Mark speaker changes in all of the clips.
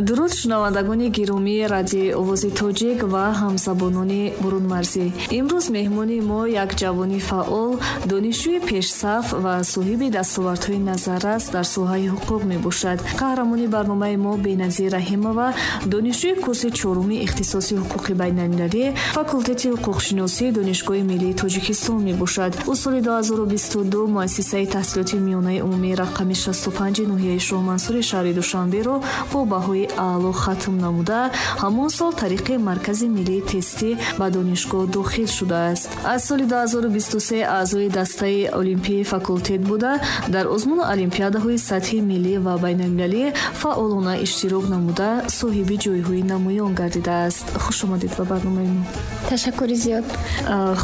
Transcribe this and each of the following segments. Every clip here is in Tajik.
Speaker 1: Дуруд, шунавандагони гиромии Радиои Овози Тоҷик ва ҳамзабонони бурунмарзӣ. Имрӯз меҳмони мо як ҷавони фаъол, донишҷӯи пешсаф ва соҳиби дастовардҳои назаррас дар соҳаи ҳуқуқ мебошад. Қаҳрамони барномаи мо Беназир Раҳимова, донишҷӯи курси чоруми ихтисоси ҳуқуқи байналмилалӣ, факултети ҳуқуқшиносии Донишгоҳи миллии Тоҷикистон мебошад. Ӯ соли 2022 муассисаи таҳсилоти миёнаи умумии рақами 65 ноҳияи Шоҳмансури шаҳри Душанберо бо баҳои аъло хатм намуда, ҳамон сол тариқи Маркази миллии тестӣ ба донишгоҳ дохил шудааст. Аз соли 2023 аъзои дастаи олимпии факултет буда, дар озмуну олимпиадаҳои сатҳи миллӣ ва байналмилалӣ фаъолона иштирок намуда, соҳиби ҷойҳои намоён гардидааст. Хуш омадед ба барномаи мо.
Speaker 2: Ташаккури зиёд.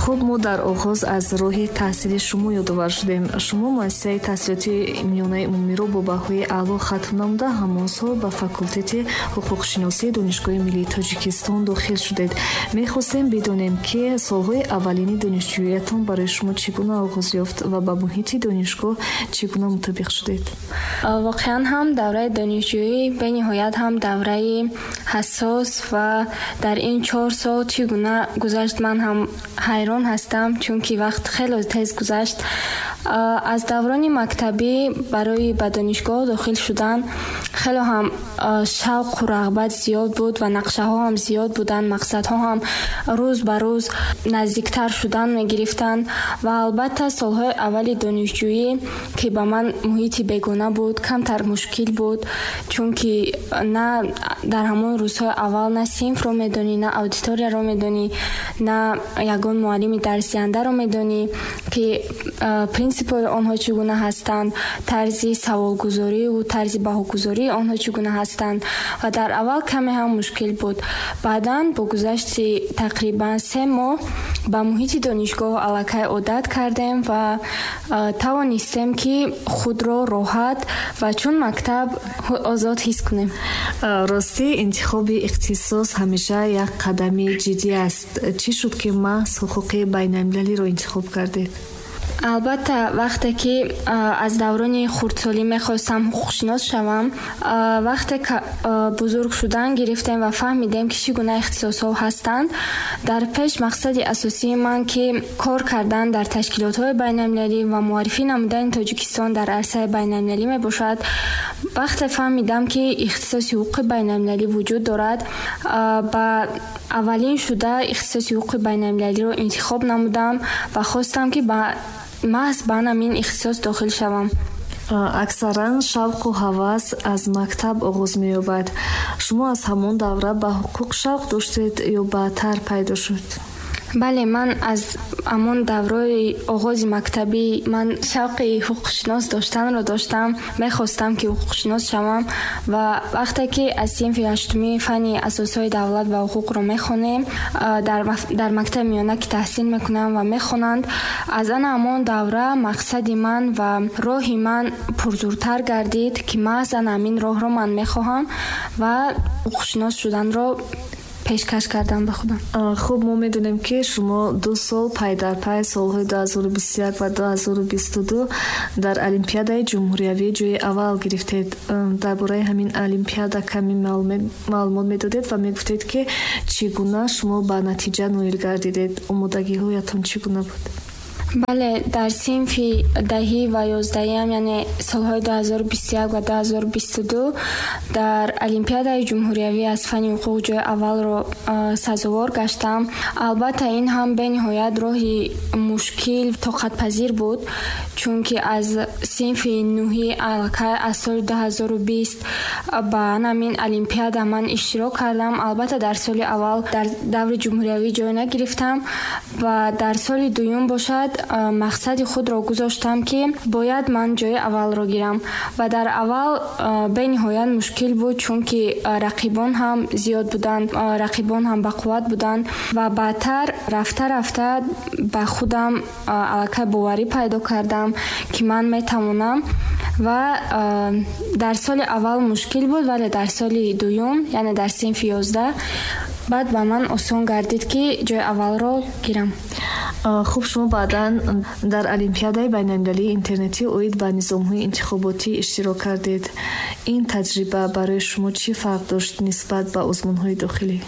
Speaker 1: Хуб, мо дар оғоз аз роҳи таҳсили шумо ёдовар шудем. Шумо муассисаи таҳсилоти миёнаи умумиро бо баҳои аъло хатм намуда, ҳамон сол ба факултети ҳуқуқшиносии Донишгоҳи миллии Тоҷикистон дохил шудед. Мехостем бидонем, ки солҳои аввалини донишҷӯиятон барои шумо чӣ гуна оғоз ёфт ва ба муҳити донишгоҳ чӣ гуна мутобиқ шудед?
Speaker 2: Воқеан ҳам давраи донишҷӯӣ бениҳоят ҳам давраи ҳассос ва дар ин 4 сол чӣ гуна гузашт, ман ҳам ҳайрон ҳастам, чунки вақт хеле тез гузашт. Аз даврони мактабӣ барои ба донишгоҳ дохил шудан хеле ҳам шавқу рағбат зиёд буд ва нақшаҳо ҳам зиёд буданд, мақсадҳо ҳам рӯз ба рӯз наздиктар шудан мегирифтанд. Ва албатта, солҳои аввали донишҷӯӣ, ки ба ман муҳити бегона буд, камтар мушкил буд, чунки на дар ҳамон рӯзҳои аввал на синфро медонӣ, на аудиторияро медонӣ, на ягон муаллими дарсдиҳандаро медонӣ, ки принсипҳои онҳо чӣ гуна ҳастанд, тарзи саволгузориву тарзи баҳогузории онҳо чӣ гуна ҳастанд. Ва дар аввал каме ҳам мушкил буд. Баъдан бо гузашти тақрибан 3 моҳ ба муҳити донишгоҳ аллакай одат кардем ва тавонистем, ки худро роҳат ва чун мактаб озод ҳис кунем.
Speaker 1: Ростӣ, интихоби ихтисос ҳамеша як қадами ҷиддӣ аст. Чӣ шуд, ки маҳз ҳуқуқи байналмилалиро интихоб кардед?
Speaker 2: Албатта, вақте ки аз даврони хурдсолӣ мехостам ҳуқуқшинос шавам, вақте бузург шудан гирифтем ва фаҳмидем, ки чӣ гуна ихтисосҳо ҳастанд, дар пеш мақсади асосии ман, ки кор кардан дар ташкилотҳои байналмилалӣ ва муаррифӣ намудани Тоҷикистон дар арсаи байналмилалӣ мебошад. Вақте фаҳмидам, ки ихтисоси ҳуқуқи байналмилалӣ вуҷуд дорад, ба аввалин шуда ихтисоси ҳуқуқи байналмилалиро интихоб намудам ва хостам, ки ба маҳз ба ҳамин ихтисос дохил шавам.
Speaker 1: Аксаран шавқу ҳавас аз мактаб оғоз меёбад. Шумо аз ҳамон давра ба ҳуқуқ шавқ доштед ё баъдтар пайдо шуд?
Speaker 2: Бале, ман аз ҳамон давраи оғози мактабӣ ман шавқи ҳуқуқшинос доштанро доштам, мехостам, ки ҳуқуқшинос шавам. Ва вақте ки аз синфи ҳаштумӣ фанни асосҳои давлат ва ҳуқуқро мехонем, дар мактаби миёна ки таҳсил мекунам ва мехонанд, аз ана ҳамон давра мақсади ман ва роҳи ман пурзуртар гардид, ки маҳз ана ҳамин роҳро ман мехоҳам ва ҳуқуқшинос шуданро пешкаш кардам ба худам.
Speaker 1: Хуб, мо медонем, ки шумо 2 сол пай дар пай, солҳои 2021 ва 2022, дар олимпиадаи ҷумҳуриявӣ ҷои аввал гирифтед. Дар бораи ҳамин олимпиада каме маълумот медодед ва мегуфтед, ки чӣ гуна шумо ба натиҷа ноил гардидед, омодагиҳоятон чӣ гуна буд?
Speaker 2: Бале, дар синфи 10-ӣ ва 11-ам, яъне солҳои 2021 ва 2022, дар олимпиадаи ҷумҳуриявӣ аз фанни ҳуқуқ ҷои аввалро сазовор гаштам. Албатта, ин ҳам бениҳоят роҳи мушкил, тоқатпазир буд, чунки аз синфи нӯҳӣ аллакай аз соли 2020 ба ҳамин олимпиада ман иштирок кардам. Албатта, дар соли аввал дар даври ҷумҳуриявӣ ҷой нагирифтам ва дар соли дуюм бошад, мақсади худро гузоштам, ки бояд ман ҷои аввалро гирам. Ва дар аввал бениҳоят мушкил буд, чунки рақибон ҳам зиёд буданд, рақибон ҳам бақувват буданд. Ва баъдтар рафта рафта ба худам аллакай боварӣ пайдо кардам, ки ман метавонам. Ва дар соли аввал мушкил буд, вале дар соли дуюм, яъне дар синфи 11, баъд ба ман осон гардид, ки ҷои аввалро гирам.
Speaker 1: Хуб, шумо баъдан дар Олимпиадаи байналмилалии интернетӣ оид ба низомҳои интихоботӣ иштирок кардед. Ин таҷриба барои шумо чӣ фарқ дошт нисбат ба озмунҳои дохилӣ?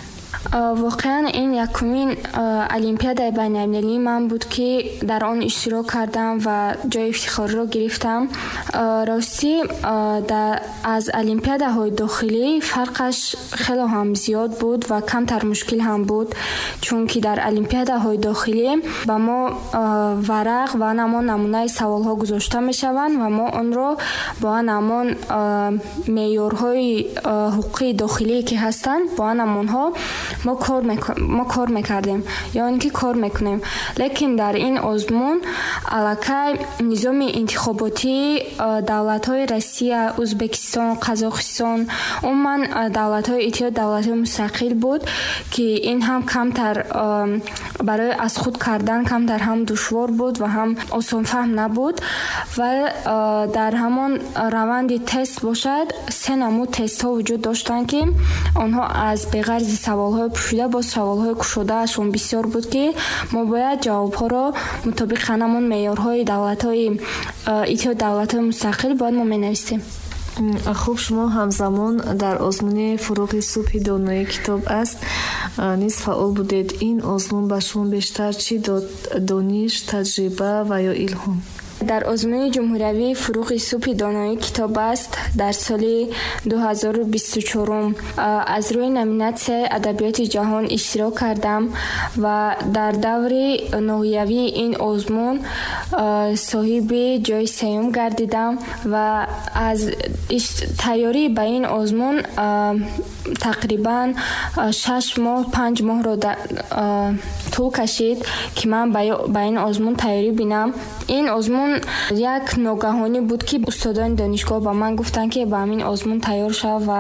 Speaker 2: Воқеан, ин якумин олимпиадаи байналмилалии ман буд, ки дар он иштирок кардам ва ҷои ифтихориро гирифтам. Ростӣ, аз олимпиадаҳои дохилӣ фарқаш хело ҳам зиёд буд ва камтар мушкил ҳам буд, чунки дар олимпиадаҳои дохилӣ ба мо варақ ва ҳамон намунаи саволҳо гузошта мешаванд ва мо онро бо ҳамон меъёрҳои ҳуқуқии дохилие, ки ҳастанд, бо ҳамонҳо мо кор мекардем ё ин ки кор мекунем. Лекин дар ин озмун аллакай низоми интихоботии давлатҳои Россия, Ӯзбекистон, Қазоқистон, умуман давлатҳои Иттиҳоди давлатҳои мустақил буд, ки ин ҳам камтар барои аз худ кардан камтар ҳам душвор буд ва ҳам осонфаҳм набуд. Ва дар ҳамон раванди тест бошад, се намуд тестҳо вуҷуд доштанд, ки онҳо аз беғарзи саволҳои пӯшида боз саволҳои кушодаашон бисёр буд, ки мо бояд ҷавобҳоро мутобиқи ҳамон меъёрҳои давлатҳои Иттиҳоди давлатҳои мустақил бояд мо менависем.
Speaker 1: Хуб, шумо ҳамзамон дар озмуни «Фурӯғи субҳи донои китоб аст» низ фаъол будед. Ин озмун ба шумо бештар чӣ дод: дониш, таҷриба ва ё илҳом?
Speaker 2: Дар озмуни ҷумҳуриявии «Фурӯғи субҳи донои китоб аст» дар соли 2024 аз рӯи номинатсияи адабиёти ҷаҳон иштирок кардам ва дар даври ноҳиявии ин озмун соҳиби ҷои сеюм гардидам. Ва аз тайёрӣ ба ин озмун тақрибан 6 моҳ, 5 моҳро тӯл кашид, ки ман ба ин озмун тайёрӣ бинам. Ин озмун як ногаҳонӣ буд, ки устодони донишгоҳ ба ман гуфтанд, ки ба ҳамин озмун тайёр шав ва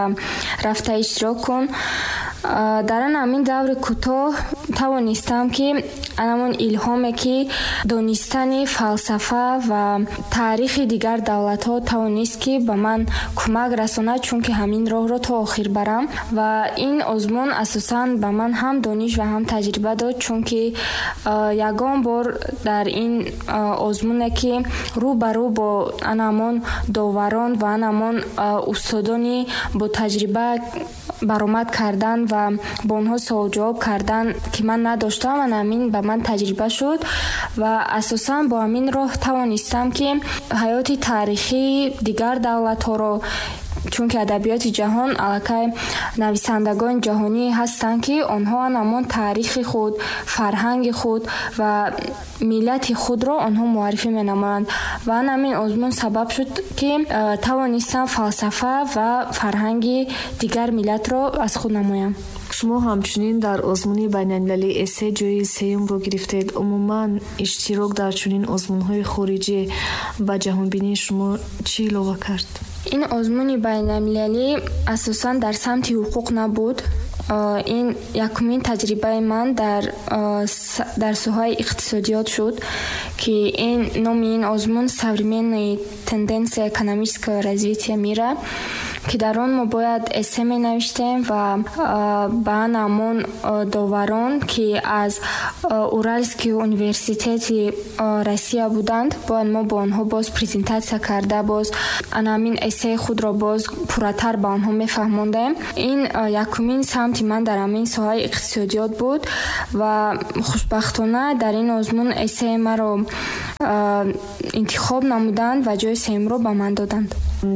Speaker 2: рафта иштирок кун. Дар ан ҳамин даври кӯтоҳ тавонистам, ки анамон илҳоме, ки донистани фалсафа ва таърихи дигар давлатҳо тавонист, ки ба ман кӯмак расонад, чунки ҳамин роҳро то охир барам. Ва ин озмун асосан ба ман ҳам дониш ва ҳам таҷриба дод, чунки ягон бор дар ин озмуне, ки рӯ ба рӯ бо анамон доварон ва анамон устодони бо таҷриба баромад кардан ва бо онҳо суолҷавоб кардан, ки ман надоштам, ана ҳамин ба ман таҷриба шуд. Ва асосан бо ҳамин роҳ тавонистам, ки ҳаёти таърихии дигар давлатҳоро, чунки адабиёти ҷаҳон аллакай нависандагони ҷаҳонӣ ҳастанд, ки онҳо ҳамон таърихи худ, фарҳанги худ ва миллати худро онҳо муаррифӣ менамоянд. Ва ҳамин озмун сабаб шуд, ки тавонистам фалсафа ва фарҳанги дигар миллатро аз худ намоям.
Speaker 1: Шумо ҳамчунин дар озмуни байналмилалии эссе ҷои сеюмро гирифтед. Умуман, иштирок дар чунин озмунҳои хориҷӣ ба ҷаҳонбинии шумо чӣ илова кард?
Speaker 2: Ин озмуни байналмилалӣ асосан дар самти ҳуқуқ набуд. Ин якумин таҷрибаи ман дар соҳаи иқтисодиёт шуд, ки ин номи ин озмун «Современные тенденции экономического развития мира», ки дар он мо бояд эссе менавиштем ва ба ҳамон доварон, ки аз Уральский университети Россия буданд, бояд мо бо онҳо боз презентатсия карда, боз ана ҳамин эссеи худро боз пурратар ба онҳо мефаҳмондем. Ин якумин самти ман дар ҳамин соҳаи иқтисодиёт буд ва хушбахтона дар ин озмун эссеи маро интихоб намуданд ва ҷои сеюмро ба ман доданд.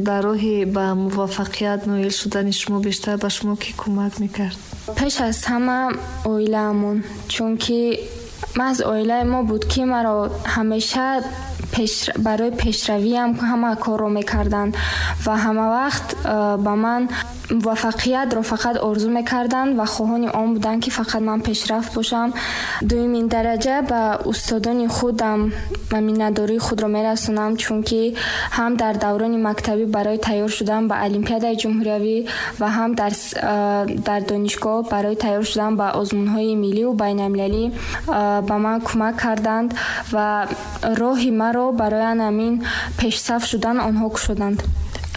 Speaker 1: Дар роҳи ба муваффақият ноил шудани шумо бештар ба шумо кӣ кӯмак мекард?
Speaker 2: Пеш аз ҳама оилаамон, чунки маҳз оилаи мо буд, ки маро ҳамеша барои пешравиам ҳама корро мекарданд ва ҳамавақт ба ман муваффақиятро фақат орзу мекарданд ва хоҳони он буданд, ки фақат ман пешрафт бошам. Дуюмин дараҷа ба устодони худам миннатдории худро мерасонам, чунки ҳам дар даврони мактабӣ барои тайёр шудан ба олимпиадаи ҷумҳуриявӣ ва ҳам дар донишгоҳ барои тайёр шудан ба озмунҳои милливу байналмилалӣ ба ман кӯмак карданд ва роҳи маро барои ҳамин пешсаф шудан онҳо кушоданд.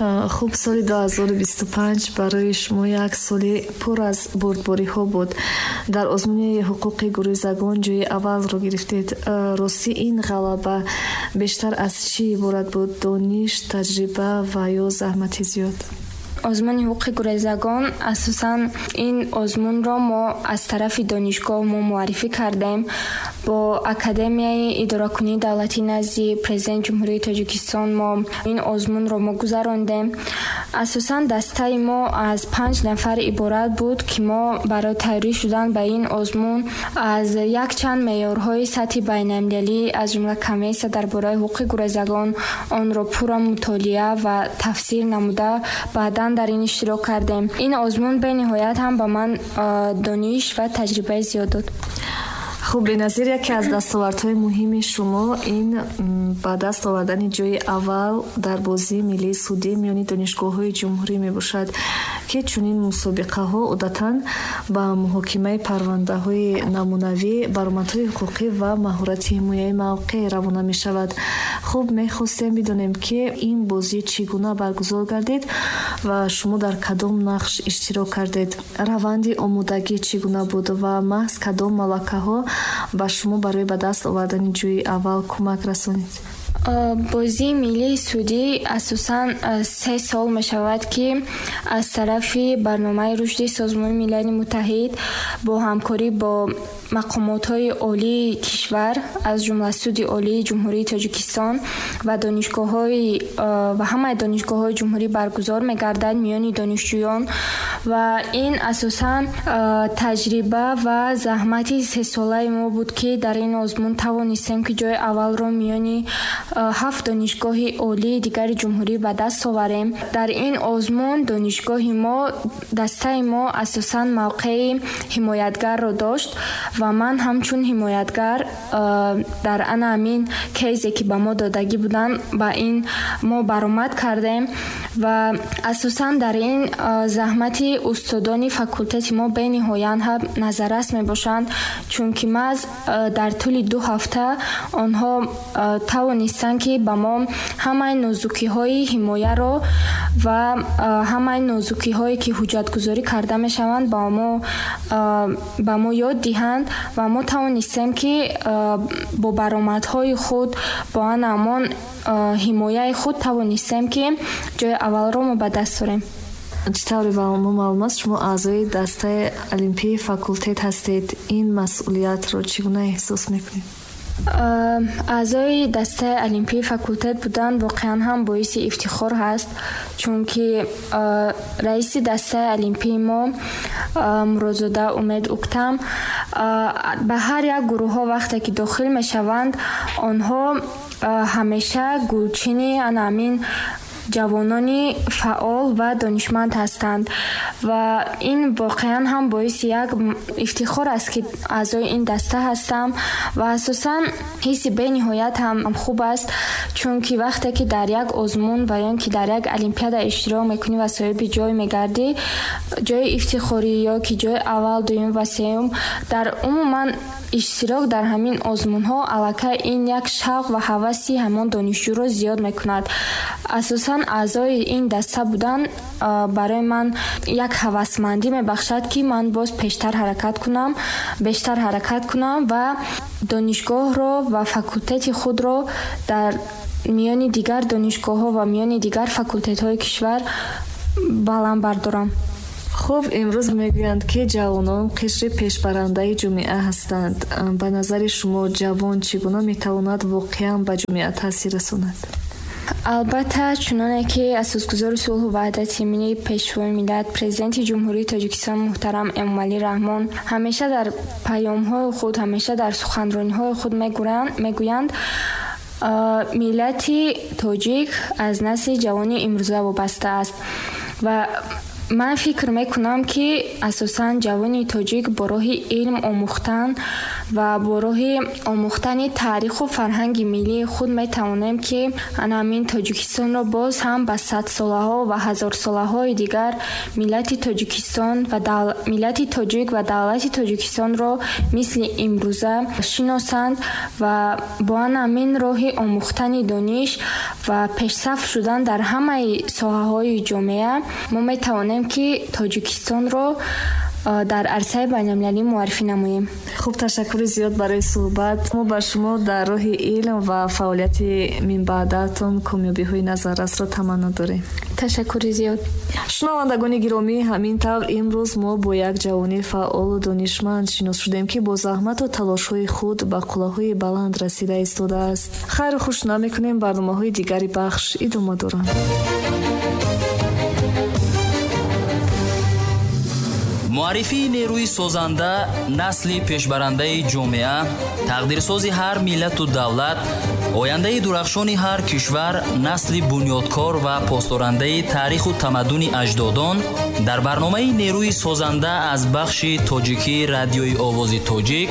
Speaker 1: Хуб, соли 2025 барои шумо як соли пур аз бурдбориҳо буд. Дар озмуни ҳуқуқи гурезагон ҷои аввалро гирифтед. Ростӣ, ин ғалаба бештар аз чӣ иборат буд? Дониш, таҷриба ва ё заҳмати зиёд?
Speaker 2: Озмуни ҳуқуқи гурезагон, асосан ин озмунро мо аз тарафи донишгоҳ мо муаррифӣ кардем. Бо Академияи идоракунии давлатӣ назди Президенти Ҷумҳурии Тоҷикистон мо ин озмунро мо гузарондем. Асосан дастаи мо аз 5 нафар иборат буд, ки мо барои тайёрӣ шудан ба ин озмун аз якчанд меъёрҳои сатҳи байналмилалӣ, аз ҷумла Конвенсия дар бораи ҳуқуқи гурезагон, онро пурра мутолиа ва тафсир намуда, баъдан дар ин иштирок кардем. Ин озмун бениҳоят ҳам ба ман дониш ва таҷрибаи зиёд дод.
Speaker 1: Хуб, Беназир, яке аз дастовардҳои муҳими шумо ин ба даст овардани ҷои аввал дар бозии миллии судӣ миёни донишгоҳҳои ҷумҳурӣ мебошад, ки чунин мусобиқаҳо одатан ба муҳокимаи парвандаҳои намунавӣ, баромадҳои ҳуқуқӣ ва маҳорати ҳимояи мавқеъ равона мешавад. Хуб, мехостем бидонем, ки ин бозӣ чӣ гуна баргузор гардид ва шумо дар кадом нақш иштирок кардед? Раванди омодагӣ чӣ гуна буд ва маҳз кадом малакаҳо ба шумо барои ба даст овардани ҷои аввал кӯмак расонид?
Speaker 2: Бозии миллии судӣ асосан 3 сол мешавад, ки аз тарафи барномаи рушди Созмони Милали Муттаҳид бо ҳамкорӣ бо мақомотҳои олии кишвар, аз ҷумла Суди Олии Ҷумҳурии Тоҷикистон ва донишгоҳҳои ва ҳамаи донишгоҳҳои ҷумҳурӣ баргузор мегардад миёни донишҷӯён. Ва ин асосан таҷриба ва заҳмати сесолаи мо буд, ки дар ин озмун тавонистем, ки ҷои аввалро миёни ҳафт донишгоҳи олии дигари ҷумҳурӣ ба даст оварем. Дар ин озмун донишгоҳи мо, дастаи мо асосан мавқеи ҳимоятгарро дошт ва ман ҳамчун ҳимоятгар дар ана ҳамин кейсе, ки ба мо додагӣ буданд, ба ин мо баромад кардем. Ва асосан дар ин заҳмати устодони факултети мо бениҳоят ҳам назаррас мебошанд, чунки маҳз дар тӯли 2 ҳафта онҳо тавонистанд, ки ба мо ҳамаи нозукиҳои ҳимояро ва ҳамаи нозукиҳое, ки ҳуҷҷатгузорӣ карда мешаванд, ба мо ёд диҳанд. Ва мо тавонистем, ки бо баромадҳои худ, бо ана ҳамон ҳимояи худ тавонистем, ки ҷои аввалро мо ба даст орем.
Speaker 1: Чӣ тавре ба мо маълум аст, шумо аъзои дастаи олимпии факултет ҳастед. Ин масъулиятро чӣ гуна эҳсос мекунед?
Speaker 2: Аъзои дастаи олимпии факултет будан воқеан ҳам боиси ифтихор ҳаст, чунки раиси дастаи олимпии мо, Муродзода Умед Уктам, ба ҳар як гурӯҳҳо вақте ки дохил мешаванд, онҳо ҳамеша гулчини ана ҳамин ҷавонони фаъол ва донишманд ҳастанд. Ва ин воқеан ҳам боиси як ифтихор аст, ки аъзои ин даста ҳастам. Ва асосан ҳисси бениҳоят ҳам хуб аст, чунки вақте ки дар як озмун ва ё ки дар як олимпиада иштирок мекунӣ ва соҳиби ҷой мегардӣ, ҷои ифтихорӣ ё ки ҷои аввал, дуюм ва сеюм, дар умуман иштирок дар ҳамин озмунҳо аллакай ин як шавқ ва ҳаваси ҳамон донишҷӯро зиёд мекунад. Асосан аъзои ин даста будан барои ман як ҳавасмандӣ мебахшад, ки ман боз пештар ҳаракат кунам, бештар ҳаракат кунам ва донишгоҳро ва факултети худро дар миёни дигар донишгоҳҳо ва миёни дигар факултетҳои кишвар баланд бардорам.
Speaker 1: Хуб, имрӯз мегӯянд, ки ҷавонон қишри пешбарандаи ҷомеа ҳастанд. Ба назари шумо, ҷавон чӣ гуна метавонад воқеан ба ҷомеа таъсир расонад?
Speaker 2: Албатта, чуноне ки асосгузори сулҳу ваҳдати миллӣ, Пешвои миллат, Президенти Ҷумҳурии Тоҷикистон муҳтарам Эмомалӣ Раҳмон ҳамеша дар паёмҳои худ, ҳамеша дар суханрониҳои худ мегӯянд, миллати тоҷик аз насли ҷавони имрӯза вобаста аст. Ва ман фикр мекунам, ки асосан ҷавони тоҷик бо роҳи илм омӯхтан Ва бо роҳи омӯхтани таъриху фарҳанги миллии худ метавонем, ки ана ҳамин Тоҷикистонро боз ҳам ба садсолаҳо ва ҳазорсолаҳои дигар миллати Тоҷикистон ва миллати тоҷик ва давлати Тоҷикистонро мисли имрӯза шиносанд ва бо ана ҳамин роҳи омӯхтани дониш ва пешсаф шудан дар ҳамаи соҳаҳои ҷомеа мо метавонем, ки Тоҷикистонро дар арсаи байналмилалӣ муаррифӣ намоем.
Speaker 1: Хуб, ташаккури зиёд барои суҳбат. Мо ба шумо дар роҳи илм ва фаъолияти минбаъдаатон комёбиҳои назаррасро таманно дорем.
Speaker 2: Ташаккури зиёд.
Speaker 1: Шунавандагони гиромӣ, ҳамин тавр имрӯз мо бо як ҷавони фаъолу донишманд шинос шудем, ки бо заҳмату талошҳои худ ба қуллаҳои баланд расида истодааст. Хайру хуш намекунем, барномаҳои дигари бахш идома доранд.
Speaker 3: Муаррифии нерӯи созанда, насли пешбарандаи ҷомеа, тақдирсози ҳар миллату давлат, ояндаи дурахшони ҳар кишвар, насли бунёдкор ва посдорандаи таъриху тамаддуни аҷдодон дар барномаи «Нерӯи созанда» аз бахши тоҷикии Радиои Овози Тоҷик.